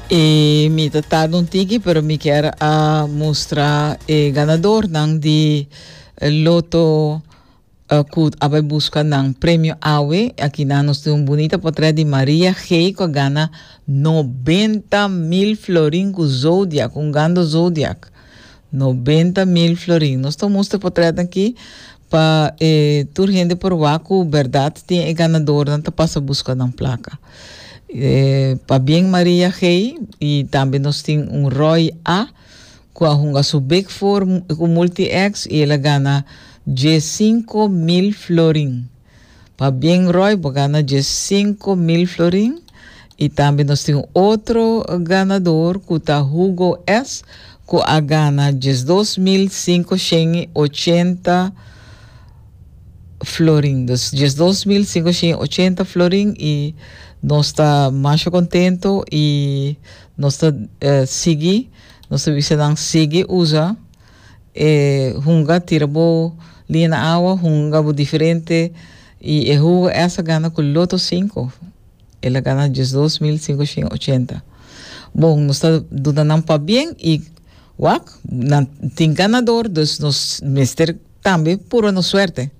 Y mi ta tarda un tiki, pero mi kier a mustra e ganadornan di loto cu a bay busca nan premio awe. Aki nan nos tin un bunita portret di Maria G. cu a gana 90.000 florin cu Zodiac, un gando Zodiac. 90.000 florin. Nos ta mustra portret aki pa e tur hende por wak cu berdad tin e ganadornan ta pasa busca nan placa. E, pabien Maria G. Y tambe nos tin un Roy A. cu a hunga su Big Four cu Multi-X y el a gana 15.000 florin. Pabien Roy, bo gana 15.000 florin. Y tambe nos tin otro ganador cu ta Hugo S. cu a gana 12.580 florin. Dus 12.580 florin y nos ta masha contento y nos ta eh, sigui, nos ta bisa nan sigui usa eh, hunga, tira bo liña na awa, hunga bo diferente y e Hugo S a gana cu Lotto 5. El a gana 12.580. Bon, nos ta duna nan pabien y wak, nan tin ganador, dus nos mester tambe purba nos suerte.